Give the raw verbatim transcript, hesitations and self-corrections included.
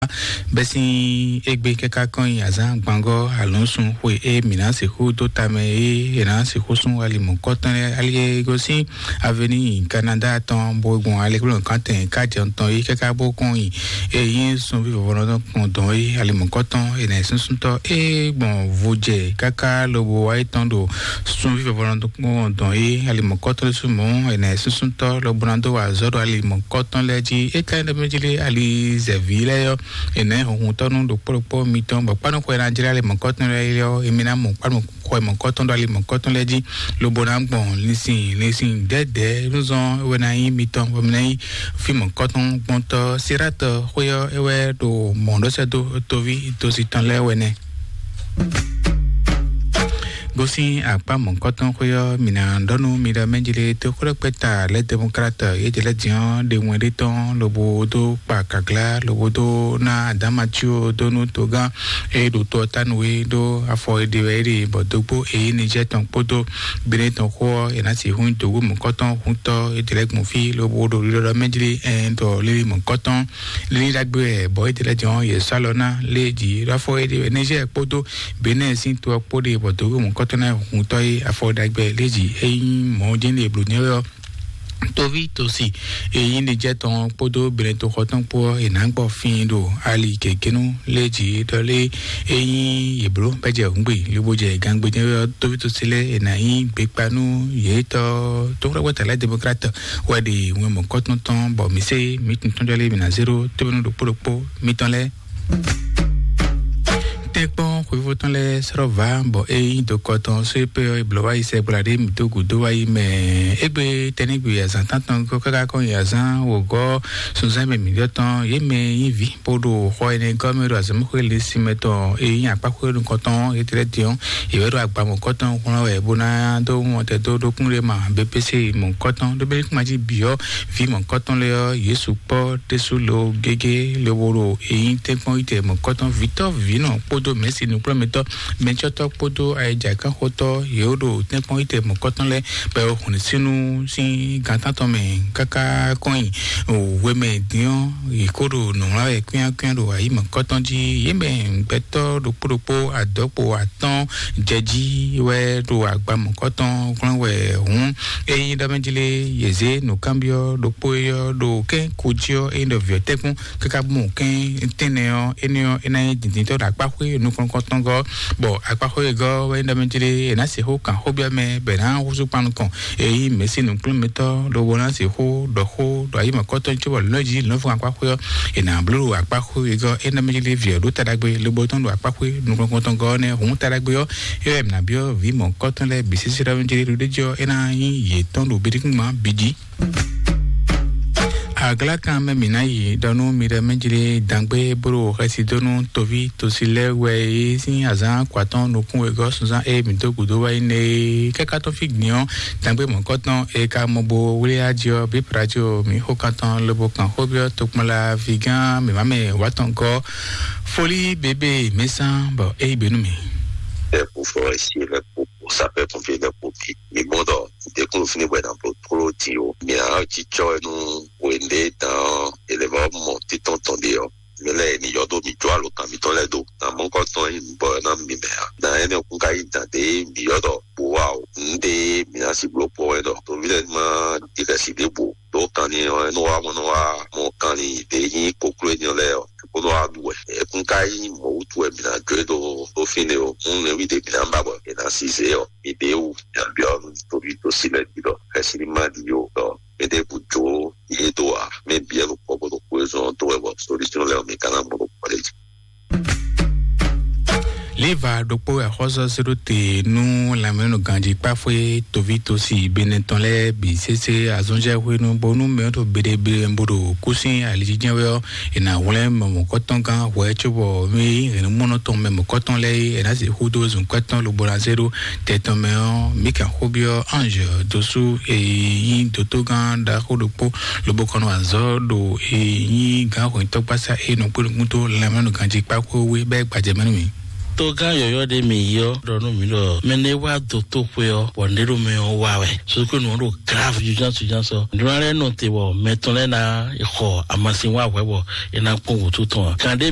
bɛ́ sín égbé káká kɔn nyi azǎn gbangɔ́ alɔ̌nsun xwe e mǐ ná sixú dó tamɛ é è nǎ sixú sún ali mɔ̌kɔtɔn lɛ́ɛ ali e gosín aveni Kanada tɔn bó gbɔn alekplɔ́nkan tɛn kájɛ tɔn é káká bó kɔn nyi e nyí sunví vɔvɔnɔ tɔn kpɔn dɔn é ali mɔ̌kɔtɔn è nǎ súnsúntɔ́ é gbɔn vo jɛ káká lobo wá é tɔn ɖo sunví vɔvɔnɔ tɔn kpɔn dɔn é ali mɔ̌kɔtɔn lɛ́ɛ sú mɔ̌ è nǎ súnsúntɔ́ lobo ná dó wa azɔ̌ ɖo ali mɔ̌kɔtɔn lɛ́ɛ jí é ká nyí ɖɔ mɛ jí lé ali zɛ̌ví lɛ́ɛ yɔ è nǎ nyí hunhuntɔ́nú ɖokpó ɖokpó mitɔn bɔ kpánukɔ e ná jlɛ́ ali mɔ̌kɔtɔn lɛ́ɛ yɔ èmi ná mɔ kpánukɔ mɔ̌kɔtɔn ɖo ali mɔ̌kɔtɔn lɛ́ɛ jí lobo ná gbɔn linsin linsin dɛ̌dɛ̌ nú zɔn é wɛ ná nyí mitɔn bɔ mi ná nyí fí mɔ̌kɔtɔn gbɔntɔ́ siratɔ xwé ɔ́ é wɛ ɖo mɔ̌ ɖó sɛ́ dó toví tosi tɔn lɛ́ɛ wɛ nɛ́. Gosín akpá mɔ̌kɔtɔn xwé ɔ́, mǐ ná ɖɔ nú mi ɖɔ mɛjlé tó xwlɛ́kpɛ́ta lɛ́ demokrat yédɛlɛ́diɔn ɖe wɛn ɖé tɔn lobo dó kpa gaglá lobo dó ná adámatsio dó nú togán e ɖo to ɔ́ tánu é ɖó afɔ e ɖe wɛ é ɖe bɔ dógbó e nyí Niger tɔn kpódó Benin tɔn xó ɔ́, è nǎ sixú nyí dǒwú mɔ̌kɔtɔn húntɔ́ yédɛlɛ́ gbɔn fí lobo ɖo ɖiɖɔɖɔ mɛjlé ɛn ɖɔ lílí mɔ̌kɔtɔn lílí ɖagbe wɛ bɔ yédɛlɛ́diɔn yě sɔ́ alɔ ná lé jí ɖó afɔ e ɖe wɛ Niger kpódó Benin sín to ɔ́ kpó ɖe bɔ dǒwú mɔ̌kɔtɔn ná húntɔ́ é afɔ ɖagbe lé jí é nyí mɔ̌ jɛ́n ɖe blǒ nyɛ wɛ ɔ́. Toví tosi èyí ni jẹ́ tɔn kpódó Benin toxɔ tɔn kpó ɔ́, è nǎ gbɔ fín ɖo ali gěgénú lé jí ɖɔ lé é nyí yě bló bɛ́ jɛ hǔngbe lobo jɛ gangbe jɛ́n ɔ́, toví tosi lɛ́ɛ è nǎ nyí gbekpanú yětɔn tó xwlɛ́kpɔ́ta lɛ́ɛ demokrat wɛ ɖe wɛn mɔ̌kɔtɔn tɔn bɔ mǐ sé mǐ tun tɔn jɔ lé mǐ ná zé ɖó tóbínú ɖokpó ɖokpó mitɔn lɛ́ɛ. Tɛ́nkpɔ́n xwéfó tɔn lɛ́ɛ sɔ́ vǎ bɔ é nyí dokɔ tɔn só é pé ɔ́, è blǒ wá yi sɛgbla ɖé mǐ dó gǔdo wá yi mɛ. Égbé tɛ́nɛ́gbe azǎn tántɔn gɔ́ káká kɔn nyi azǎn wǒgɔ́ sunzán mɛ mǐ ɖɔ tɔn yě mɛ nyí vǐ bó ɖo xɔ énɛ́ gɔ́ mɛ ɖo azɔ̌mɛxwé lǐnsin mɛ tɔn e nyí akpáxwé nukɔntɔn é tlɛ́ din ɔ́, yě wɛ ɖo agba mɔ̌kɔtɔn wlán wɛ bó ná dó wɔn tɛ dó ɖókún ɖé ma B P C mɔ̌kɔtɔn ɖó bɛ́ kún ma jí bǐ ɔ́, vǐ mɔ̌kɔtɔn lɛ́ɛ ɔ́, yě sukpɔ́ ɖésú lo gégé lobo ɖo e nyí tɛ́nkpɔ́n yi tɛ mɔ̌kɔtɔn vǐtɔ́ vǐnɔ kpódó mɛ̌si nǔkplɔ́nmɛtɔ́ mɛtsɔ́tɔ́ kpódó ayɛjǎkánxotɔ́ yě ɖo tɛ́nkpɔ́n yi tɛ mɔ̌kɔtɔn lɛ́ɛ bɔ hwlɛ̌nsínu sín gantán tɔn mɛ káká kɔn nyi wěmɛ dín ɔ́, yě kó ɖo nǔwlán wɛ kwíákwíá ɖo ayǐ mɔ̌kɔtɔn jí. Yě mɛ gbɛtɔ́ ɖokpó ɖokpó adɔ̌kpo atɔ́ɔ́n jɛ jí wɛ ɖo agba mɔ̌kɔtɔn glɔ́n wɛ hǔn. Ényí ɖɔ mɛ jí lé, yě zé nǔkanbyɔ́ ɖokpó e ɔ́ ɖo kɛ́n ko jí ɔ́, ényí ɖɔ vǐ ɔ́ tɛ́nkpɔ́n káká bú mɔ kɛ́n tɛ́nnɛ ɔ́, énɛ́ ɔ́, é ná nyí dǐndíntɔ́ ɖo akpáxwé nukɔn kɔntɔn gɔ́, bɔ akpáxwé e gɔ́ wɛ nyí ɖɔ mɛ jí lé, è nǎ se xó kan xó byɔ́ mɛ, bɔ è nǎ húzú kpan nukɔn. Ényí mɛ̌si nǔkplɔ́nmɛtɔ́ lobo ná se xó ɖɔ xó ɖo ayǐ mɔ̌kɔtɔn cóbɔ lǒ jí lǒ fún akpáxwé ɔ́, è nǎ bló ɖo akpáxwé e gɔ́ é ná mɛ jí lé vǐ ɔ́ ɖó taɖagbe lobo tɔn ɖo akpáxwé nukɔn kɔntɔn gɔ́ nɛ́ hǔn taɖagbe ɔ́, é wɛ è nǎ byɔ́ vǐ mɔ̌kɔtɔn lɛ́ɛ bǐ sísí ɖɔ mɛ jí lé ɖo ɖé jí ɔ́, é ná nyí yětɔn ɖo bídíkúngban bǐ jí. Aglákan mɛ mǐ ná yi ɖɔ nú mi ɖɔ mɛ jí lé dangbé bó ɖo xɛsi dó nú toví tosi lɛ́ɛ wɛ é sín azǎn kɔ atɔ́ɔ́n nukún wegɔ́ sunzán e mǐ dó gǔdo wá yi nɛ é. Kɛ́ká tɔ́n fí gbìn ɔ́, dangbé mɔ̌kɔtɔn e ka mɔ bo wlí aji ɔ́, bǐ praji ɔ́, mǐ xó kan tɔn lobo kan xó byɔ́ tokpɔnla vigán mǐmá mɛ wǎtɔn gɔ́. Folí bébé mɛsán bɔ é yí gbe nú mì. Ɛ kú fɔ ɛ sí ɛ kú. Sapɛ́-pompié lɛ́ɛ kpó bí. Mi mɔ ɖɔ ɖě kún ɖo fínɛ́ bɔ è nǎ bló tlóló din ó. Mǐ ná jínjɔ́n ɛ nú hwenu ɖé dǎn ɔ́, è lɛ́ vɔ́ mɔ títɔn tɔn ɖe ɔ́, mɛ lɛ́ɛ è nǐ yɔ dó mǐ jó alǒkan mitɔn lɛ́ɛ dó. Nǎ mɔ̌ kɔn tɔn nyí nǔ bɔ é ná mi mɛ ǎ. Nǎ énɛ́ kún ka nyí dǎn ɖě mǐ ylɔ́ ɖɔ bǔ wa o. Nǔ ɖě mǐ ná sixú bló kpɔ́n wɛ ɖɔ toví lɛ́ɛ ní má ɖi xɛsi ɖěbǔ. Ɖó kanlin ɔ́, é nɔ wá mɔ nɔ wá mɔ kanlin ɖě nyí kokló énɛ́ lɛ́ɛ ɔ́, bó nɔ wá ɖu wɛ. É kún ka nyí mɔ̌ wútu wɛ mǐ ná jó e ɖo ɖó fínɛ́ o. Nú nɛ̌ví ɖě mǐ ná ba bɔ è nǎ sí zě ɔ́, mi ɖě wú mǐ ná byɔ́ nú toví tosi lɛ́ɛ jí ɖɔ xɛsi ní má ɖi ó ɖɔ mɛ ɖěbǔ jó yě dó ǎ. Mɛ bǐ wɛ ɖo kpɔ́ bó ɖo xwezɔn ɔ́ dó wɛ bɔ solúsyɔn lɛ́ɛ ɔ́, mi ka ná mɔ ɖo kpɔ́ ɖé jí. Liva ɖokpó axɔ́sɔ sóɖóte nú lanmɛnɔ ganjí kpáfwé toví tosi Benɛ tɔn lɛ́ɛ bǐ sésé azɔnjɛ hwenu bónú mɛ ɖo beɖebeɖe bó ɖo kúsin alijijɛ wɛ ɔ́, è nǎ hwlɛ́n mɔmɔkɔtɔngán hwɛ cóbɔ mɛ hɛ̌nnumɔnɔ tɔn mɛ mɔ̌kɔtɔn lɛ́ɛ é, è nǎ sixú dó zunkwɛ́ tɔn lobo ná zé ɖó tɛ tɔn mɛ ɔ́, mǐ kan xó byɔ́ Ange dósú e nyí dotogán ɖaxó ɖokpó lobo kɔn nɔ azɔ̌ ɖo e nyí gǎn hwɛ̌ntɔ́gbasá e nɔ kpé nukún tó lanmɛnɔ ganjí kpákó wé bɛ́ gbajɛ mɛ nú mì. Togán yɔyɔ́ ɖé mi yi ɔ́ ɖɔ nú mi ɖɔ mɛ ne wá do tó xwe ɔ́, bɔ nɖé ɖo mɛ ɔ́ wá wɛ. Sokónu ɔ́ ɖo grave urgence urgence ɔ́. Nɖó lɛ́ɛ nɔ te bɔ mɛ tɔn lɛ́ɛ ná xɔ amasin wá hwɛ bɔ é ná kpɔn wǔtu tɔn ǎ. Kan ɖé